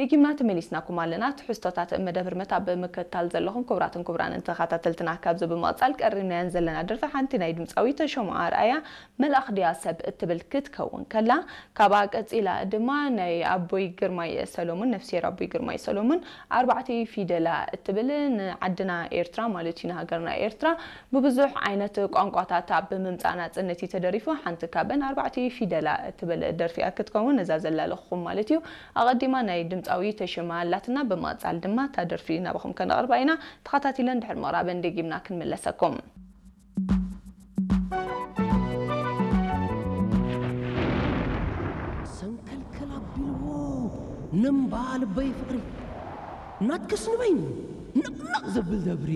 ደጊምና ተመሊስናኩም ኣለና። ትሕዝቶታት መደብ ህርመት ኣብ ምክትታል ዘለኹም ክቡራትን ክቡራንን ተኸታተልትና፣ ካብዚ ብምቕጻል ቀሪብናየን ዘለና ደርፊ ሓንቲ ናይ ድምጻዊ ተሾመ ኣርኣያ መልኣኽ ድያ ሰብ እትብል ክትከውን ከላ፣ ካብኣ ቀጺላ ድማ ናይ ኣቦይ ግርማይ ሰሎሙን፣ ነፍስሄር ኣቦይ ግርማይ ሰሎሙን ኣርባዕተ ፊደላ እትብል ንዓድና ኤርትራ ማለት እዩ፣ ንሃገርና ኤርትራ ብብዙሕ ዓይነት ቋንቋታት ኣብ ምምጻእ ናጽነት እዩ ተደሪፉ። ሓንቲ ካብን ኣርባዕተ ፊደላ እትብል ደርፊ እያ ክትከውን ነዛ ዘላለኹኹም ማለት እዩ። ኣቐዲማ ናይ ድምጻዊ ተሾመ ኣላትና፣ ብምቕጻል ድማ እታ ደርፊ ናባኹም ከነቕርባ ኢና። ተኸታቲለን ድሕሪ ምቕራበን ደጊምና ክንምለሰኩም። ሰንከልከል ኣቢልዎ ነምባ ልበይ ፍቕሪ ናትክስ ንበይኑ ንቕንቕ ዘብል ደብሪ